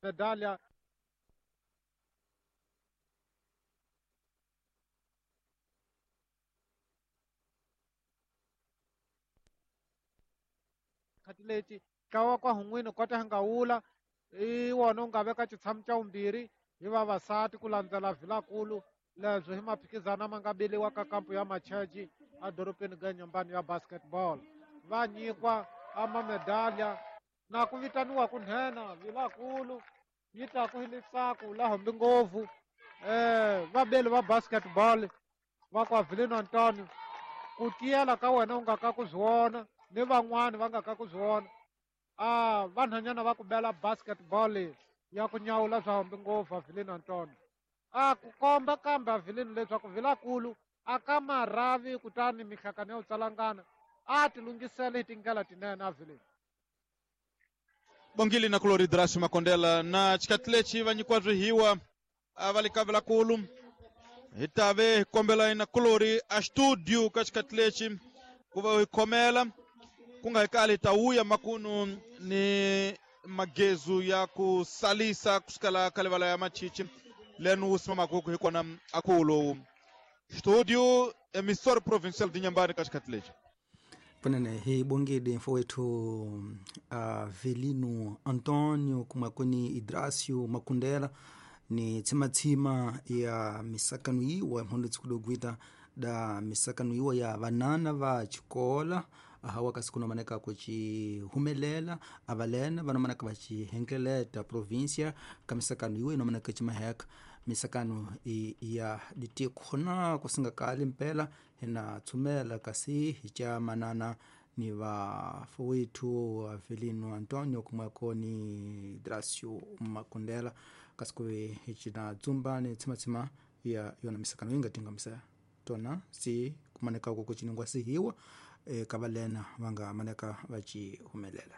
Medalha khati leti ntlawa kwa hun'wini kota nga wula i wona u nga veka xitshamo xa vumbirhi hi vavasati ku landzela vilakulu leswi hi maphikizana ma nga beliwa ka kampu ya macheji edorobeni ga nyambani ya basketball. Va nyikwa amamedalya na ku vitaniwa ku nhenha vilakulu yi taku hi litsako la hambi ngopfu vabeli va basketball va kwa Vilino Antonio ku tiyela ka wena u nga ka ku zwi vona ni van'wani va nga ka ku zwi vona a vanhwanyana va ku bela basketball ya ku nyawula swa hambi ngopfu Avelino Antonio a ku komba kambe Avelino leswaku vilakulu a ka marhavi kutani mihlakano ya ku tsalangana a ti lunghisele hi tindlela tinene Avelino. Bongili na kulori Drasi Makondela na xikati lexi va nyikiwa swihiwa a va le ka vilakulu hi tave hi kombela na kulori a studio ka xikati lexi ku va hi khomela ku nga hi kali hi ta wuya makunu ni magezu ya ku salisa kusukela ka livala ya machichi leni wu simamaku hi kona aku lowu studio emissor provincial de Inhambane ka xikati lexi. Kunene hi bongile mfowethu Avelino Antonio kumakoni Idrasio Makundela ni tsimatsima ya misakano yiwa mhondo tsikudogwita da misakano yiwa ya vanana va xikola hawa kasi kunomaneka kucihumelela avalena vanomaneka vacihengeleta província ka misakano yiwa inomaneka cimaheka misakano ya ditiko na kusingakali mpela hina tsumela kasi hi ca manana ni vafowethu Avelino Antonio kumweko ni Dracio Makundela kasi kuve hi cina dzumba ni tsimatsima ya yona misakano yi nga tingamisa tona si kumaneka ku kuciningwa sihiwa ka valena va nga maneka va ci humelela.